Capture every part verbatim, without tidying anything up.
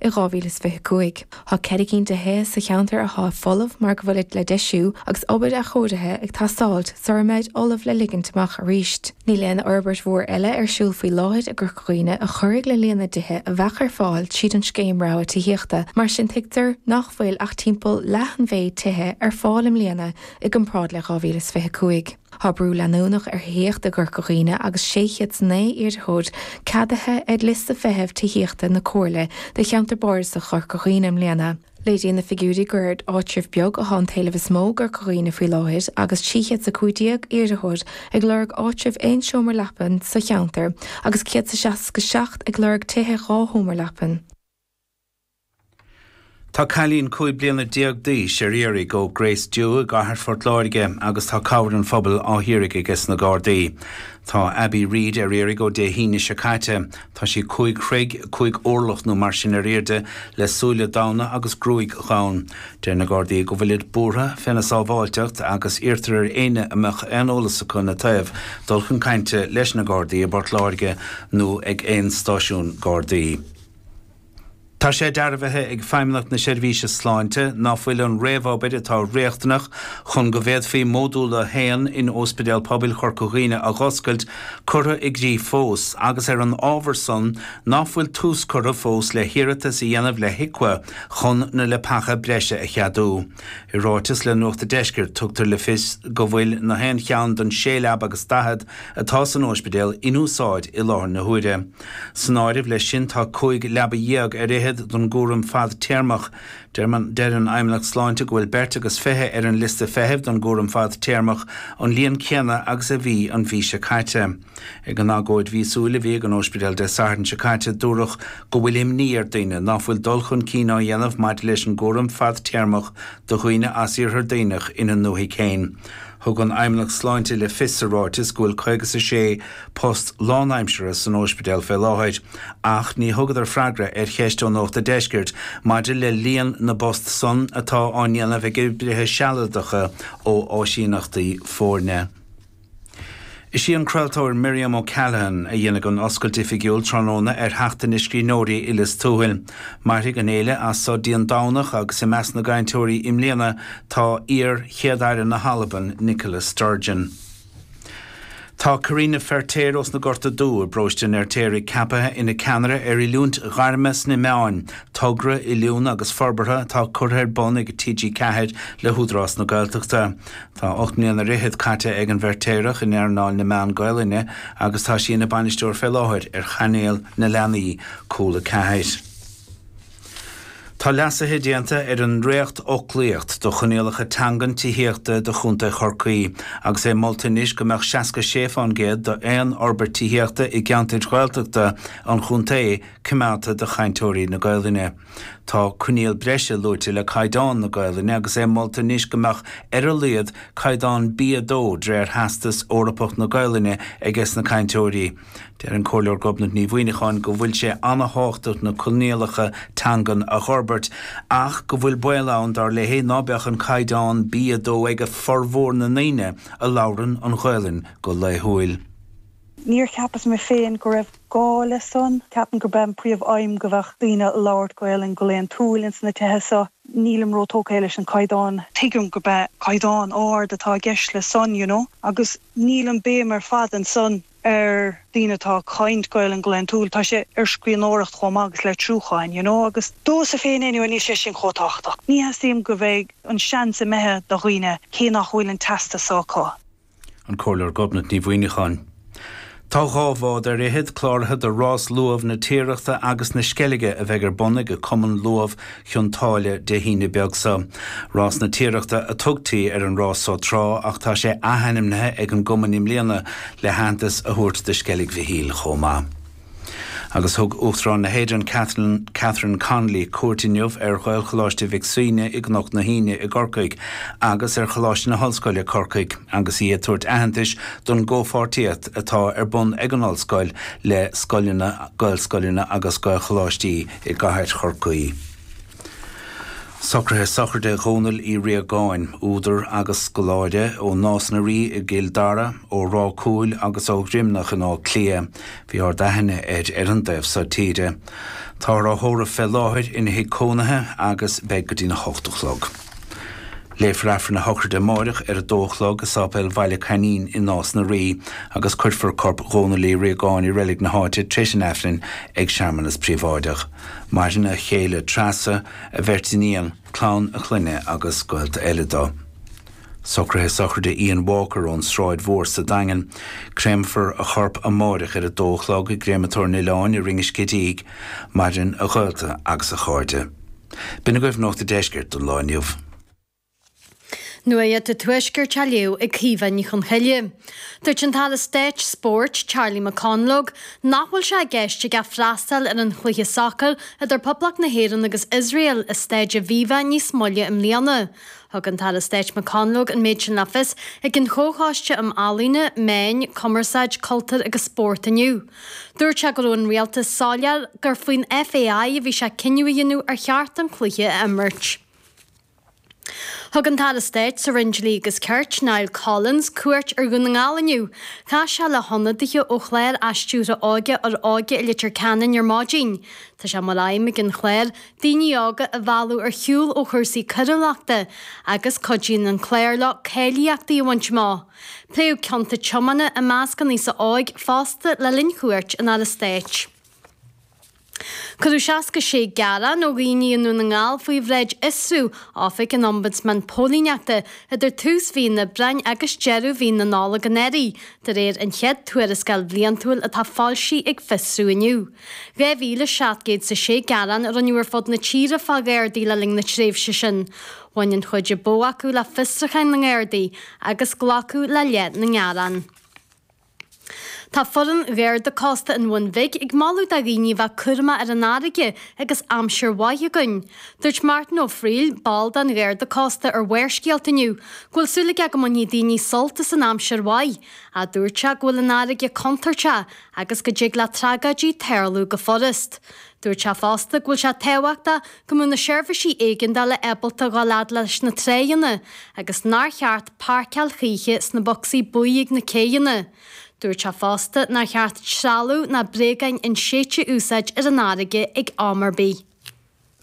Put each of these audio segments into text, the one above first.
i dhá mhíle is fiche cúig. Tá ceithre cinn de thithe sa cheantar atá folamh mar go bhfuilid le deisiú agus obair athchóirithe ag teastáilt sara mbeid ullamh le ligint amach arís. Níl aon fhorbairt mhór eile ar siúl faoi láthair i gCorca Dhuibhne a chuirfeadh le líon na dtithe a bheadh ar fáil tríd an scéim rogha tithíochta, mar sin tuigtear nach bhfuil ach timpeall leath an mhéid tithe ar fáil i mbliana i gcomparáid le dhá mhíle is fiche cúig. Tá brú leanúnach ar thithíocht i gCorca Dhuibhne agus sé chéad is naoi iarrthóir ceadaithe ar liosta feithimh tithíochta na Comhairle do cheantar bardasach Chorca Dhuibhne i mbliana. Léiríonn na figiúirí gur ar áitreabh beag atá an t-éileamh is mó i gCorca Dhuibhne faoi láthair agus trí chéad is a cúig déag iarrthóir ag lorg áitreabh aon seomra leapan sa cheantar agus céad is seasca seacht ag lorg tithe dhá sheomra leapan. Tá cailín cúig bliana déag d'aois ar iarraidh ó Grace Dew i gcathair Phort Láirge agus tá cabhair an phobail á hiarraidh aige sna Gardaí. Tá Abby Reid ar iarraidh ó Dé hAoine seo caite. Tá sí cúig throigh, cúig orlach nó mar sin ar airde, le súile donn agus gruaig dhonn. Deir na Gardaí go bhfuilid buartha féna sábháilteacht agus iarrtar ar éinne a mbeadh aon eolas acu ina taobh dul chun cainte leis na Gardaí i bPort Láirge nó ag aon stáisiún Gardaí. Tá sé dearbhaithe ag Feidhmeannacht na Seirbhíse Sláinte ná fuil an réamhobair atá riachtanach chun go bhféadfaí Módúl a haon in Ospidéal Pobail Chorca Dhuibhne a dh'oscailt curtha i gcrích fós agus ar an ábhar san ná fuil tús curtha fós le hiarratas a dhéanamh le HIQA chun na leapacha breise a cheadú. I ráiteas le Nuacht an Deiscirt tugtar le fios go bhfuil na haon cheann den sé leaba agus daichead atá san ospidéal in úsáid i láthair na huaire. San áireamh leis sin tá cúig leaba dhéag ar fhichead don gcúram fadtéarmach. Deir an Fheidhmeannacht Sláinte go bhfuil beirt agus fiche ar an liosta feithimh don gcúram fadtéarmach, an líon céanna agus a bhí an mhí seo caite. Ag an agóid mhíosúil a bhí ag an ospidéal Dé Sathairn seo caite dúradh go bhfuil imní ar daoine ná fuil dul chun cinn á dhéanamh maidir leis an gcúram fadtéarmach do dhaoine as Iarthar Duibhneach ina ndúthaigh féin. Thug an Fheidhmeannacht Sláinte le fios sa ráiteas go bhfuil caoga is a sé post lánaimseartha san ospidéal fé láthair, ach ní thugadar freagra ar cheist ó Nuacht an Deiscirt maidir le líon na bpost san atá á ndéanamh ag oibrithe sealadacha ó áisíneachtaí foirne. Is í an craoltóir Miriam O'Callaghan a dhéanfaidh an oscailt oifigiúil tráthnóna ar Sheachtain na Scríbhneoirí i Lios Tuathail. Mairfidh an fhéile as so dtí an Domhnach agus i measc na gcainteoirí i mbliana tá iar-Chéad-Aire na hAlban, Nicola Sturgeon. Tá Karina Feirtéar ós na Gorta Dubha i bparóiste an Fheirtéaraigh ceaptha ina ceannaire ar oiliúint ghairme sna meáin, togra oiliúna agus forbartha atá curtha ar bun ag T G ceathair le hÚdarás na Gaeltachta. Tá ocht mbliana ar fhichead caite ag an bhFeirtéarach in earnáil na meán Gaelainne agus tá sí ina bainisteoir fé láthair ar chainéal na leanaí Cúla ceathair. Tá leasuithe déanta ar an ndréacht-fhoclaíocht do choinníollacha teangan tithíochta do Chontae Chorcaí, agus é molta anois go mbeadh seasca sé fán gcéad d'aon fhorbairt tithíochta i gceantair Ghaeltachta an chontae coimeádta do chainteoirí na Gaelainne. Tá coinníoll breise luaite le caighdeán na Gaelainne agus é molta anois go mbeadh ar a laghad caighdeán B a dó de réir Theastas Eorpach na Gaelainne aige sna cainteoirí. Deir an Comhairleoir Gobnait Ní Mhuineacháin go bhfuil sé an-tábhachtach na coinníollacha teangan a fhorbairt, ach go bhfuil baol ann dar léi ná beadh an caighdeán B a dó ag formhór na ndaoine a labhrann an Ghaelainn go laethúil. Níor cheapas mé féin go raibh gá le san. Ceapaim gurb é an príomh-aidhm go bheadh daoine ag labhairt Gaelainn go laethúil ins na tithe seo. Nílim rótógtha leis an caighdeán. Tuigim gurb é caighdeán ard atá i gceist le san, you know, agus níl an béim ar fad ansan ar daoine atá ag caint Gaelainn go laethúil. Tá sé ar scríbhneoireacht chomh maith agus litriúcháin, you know, agus domhsa féin anyway níl sé sin chomh tábhachtach. Ní theastaíonn go bheidh an seans imithe do dhaoine cé nach bhfuil an teastas acu. An Comhairleoir Gobnait Ní Mhuineacháin. Tá dhá bhád ar fhichead cláraithe do rás luamh na Tiarachta agus na Sceilge a bheidh ar bun ag Cumann Luamh Chionn tSáile Dé hAoine beag seo. Rás na Tiarachta a tugtaí ar an rás so tráth ach tá sé athainmnithe ag an gcumann i mbliana le haitheantas a thabhairt do Sceilg Mhichíl chomh maith. Agus thug Uachtarán na hÉireann Catherine, Catherine Connolly cuairt inniu ar Ghaelcholáiste Mhic Suibhne i gCnoc na hAoine i gCorcaigh agus ar Choláiste na hOllscoile Corcaigh, agus í ag tabhairt aitheantais don gcomhpháirtíocht atá ar bun ag an ollscoil le scoileanna, Gaelscoileanna agus Gaelcholáistí i gcathair Chorcaí. Socruithe sochraide Dhónaill Uí Riagáin, údar agus scoláire ó Nás na Rí i gCill Dara, ó Ráth Cúil agus ó Dhroimneach in Áth Cliath. Bhí ard-aithne air ar an dtaobh seo tíre. Táthar á thórramh fé láthair ina thigh cónaithe agus beidh go dtí'n a hocht a chlog. Léifear Aifreann a shochraide amáireach ar a dó a chlog i Sáipéal Bhaile Coinín i Nás na Rí agus cuirfear corp Dhónaill Uí Riagáin i reilig na háite tar éis an Aifrinn ag searmanas príobháideach. Maireann a chéile Treasa, a bheirt iníon, clann a chlainne agus gaolta eile dó. Socruithe sochraide Ian Walker ón Sráid Mhór sa Daingean. Créamfar a chorp amáireach ar a dó a chlog i gCréamatóir an Oileáin i Rinn an Scidígh. Maireann a ghaolta agus a chairde. B'in agaibh Nuacht an Deiscirt don lá inniu. Nuacht an Tuaiscirt á léamh ag Caoimhe Ní Chonchoille. Dúirt an tAire Stáit Spóirt Charlie McConalogue nach bhfuil sé i gceist aige freastal ar an chluiche sacair idir Poblacht na hÉireann agus Iosrael i Staid Aviva níos moille i mbliana. Thug an tAire Stáit McConalogue an méid sin le fios ag an Chomhchoiste um Ealaíona, Meáin, Cumarsáid, Cultúr agus Spórt inniu. Dúirt sé go raibh an rialtas soiléir gur faoin FAI a bhí sé cinneadh a dhéanamh ar cheart an cluiche a imirt. Thug an tAire Stáit sa Roinn Dlí agus Cirt, Niall Collins, cuairt ar Dhún na nGall inniu. Chas sé le hionadaithe ó chlár athstiúrtha óige Fhoróige i Leitir Ceanainn ar maidin. Tá sé mar aidhm ag an chlár daoine óga a mhealladh ar shiúl ó chúrsaí coiriúlachta agus cuidíonn an clár leo cáilíochtaí a bhaint amach. Pléadh cionta tiomána i measc an aosa óig fosta le linn chuairt an Aire Stáit. Cuireadh seasca sé gearán ó dhaoine i nDún na nGall faoi bhráid Fhiosrú, Oifig an Ombudsman Póilíneachta, idir tús mhí an Aibreáin agus deireadh mhí na Nollag anuraidh, de réir an chéad tuarascáil bhliantúil atá foilsithe ag Fiosrú inniu. Dhá mhíle seacht gcéad is a sé gearán a rinneadh ar fud na tíre fá Ghardaí le linn na tréimhse sin. Bhain an chuid ba mhó acu le fiosrúcháin na nGardaí agus glacadh le leath na ngearán. Tá foireann Gharda Cósta an Bhun Bhig ag moladh do dhaoine a bheith cúramach ar an fharraige agus aimsir mhaith againn. Dúirt Martin Ó Frighil, ball den Gharda Cósta ar Bharrscéalta inniu, go bhfuil súil aige go mbainfidh daoine sult as an aimsir mhaith. Ach dúirt sé go bhfuil an fharraige contúirteach agus go dtig le tragóidí tarlú go furast. Dúirt sé fosta go bhfuil sé tábhachtach go mbeadh na seirbhísí éigeandála ábalta dhul fhad leis na tráigheanna agus nár cheart páirceáil choíche sna bocsaí buí ag na céidheanna. Dúirt sé fosta nár cheart trealamh ná bréagáin inséidte a úsáid ar an fharraige ag am ar bith.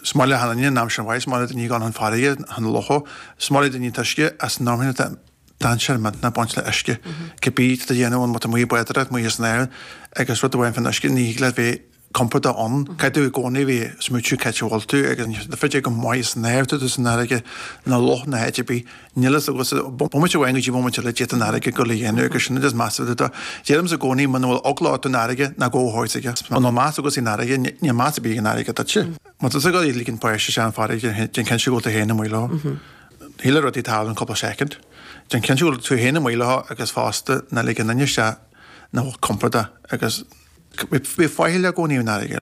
Is maith le achan duine an aimsir mhaith, is maith le daoine gabháil chun farraige, chun locha, is maith le daoine an t-uisce as an am atá dainséar millteanach ag baint le uisce. Cibé atá a dhéanamh ann, má tá amuigh ag bádóireacht, amuigh san aer agus rud amháin faoin uisce, ní thig leat bheith compordach ann. Caithfidh tú i gcónaí bheith ag smaoitiú cá háit a bhfuil tú agus ní féidir go maith san aer tú san fharraige ná loch ná háit ar bith. Níl fhios agat bomaite amháin go dtí bomaite eile d'fhéadfadh an fharraige dul a dhéanamh agus sin is measa do. Deirimse i gcónaí muna bhfuil eagla ort don fharraige ná gabh thart aige. Muna bhfuil meas agat san fharraige níl meas ar bith ag an fharraige duitse. Má tá tú ag ligean páiste isteach an fharraige déan cinnte go bhfuil tú féin amuigh leo. Thig le rudaí tarlú in cúpla soicind. Déan cinnte go bhfuil tú féin amuigh leo agus fosta ná lig aon duine isteach nach bhfuil compordach agus Bhí faichill i gcónaí an fharraige.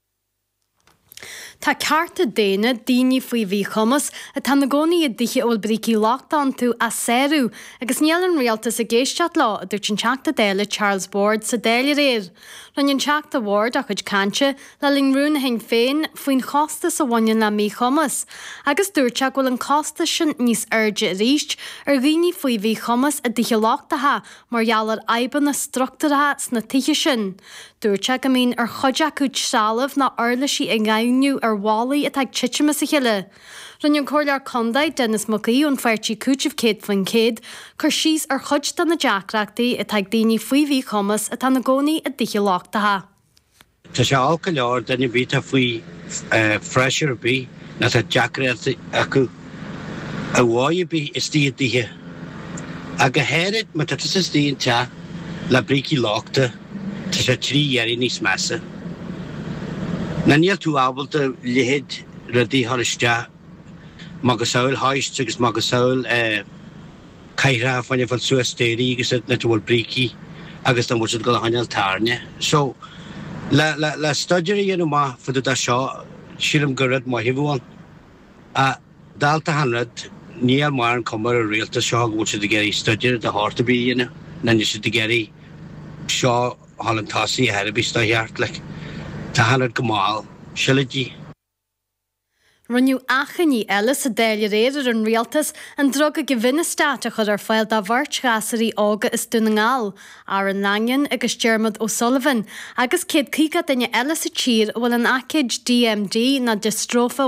Tá cearta daonna daoine faoi mhíchumas atá ina gcónaí i dtithe a bhfuil brící lochta iontu á sárú agus níl an rialtas ag éisteacht leo, a dúirt an Teachta Dála Charles Ward sa Dáil aréir. Rinne an Teachta Ward a chuid cainte le linn rún Shinn Féin faoin chostas a bhaineann le míchumas agus dúirt sé go bhfuil an costas sin níos airde arís ar dhaoine faoi mhíchumas i dtithe lochtacha mar gheall ar fhadhbanna struchtúrtha sna tithe sin. Dúirt sé go mbíonn ar chuid acu trealamh ná uirlisí a dhaingniú ar bhallaí atá ag titim as a chéile. Rinne an Comhairleoir Contae, Denis Mac Aoidh ón pháirtí Cúiteamh Céad Faoin Chéad, cur síos ar chuid de na deacrachtaí atá ag daoine faoi mhíchumas atá ina gcónaí i dtithe lochtacha. Tá sé olc go leor duine ar bith atá faoi phreisúr ar bith nó tá deacrachtaí acu ar dhóigh ar bith istigh i dtithe. Ach go háirid má tá tusa istigh in teach le brící lochta, tá sé trí oiread níos measa. Ná níl tú ábalta leithéid rudaí a chur isteach, macasamhail hoists agus macasamhail cathaoireacha fá choinne fáil suas staighrí agus nuair a bhfuil brící agus dá bhfuil siad ag dul a choinneáil tairne. So, le, le, le staidéar a dhéanamh amach fá dtaobh de seo, sílim gur rud maith a bheadh ann. Ach dálta achan rud, níl mórán cuma ar an rialtas seo go bhfuil siad ag iarraidh staidéar de shórt ar bith a dhéanamh, ná níl siad ag iarraidh seo a dhul chun tosaigh ar chor ar bith is dá cheart, like. Tá achan rud go mall. Sileidí. Rinneadh achainí eile sa Dáil aréir ar an rialtas an druga Givinostat a chur ar fáil do bheirt ghasúraí óga as Dún na nGall, Aaron Langan agus Dermot O'Sullivan, agus céad caoga duine eile sa tír a bhfuil an aicíd DMD nó diostróife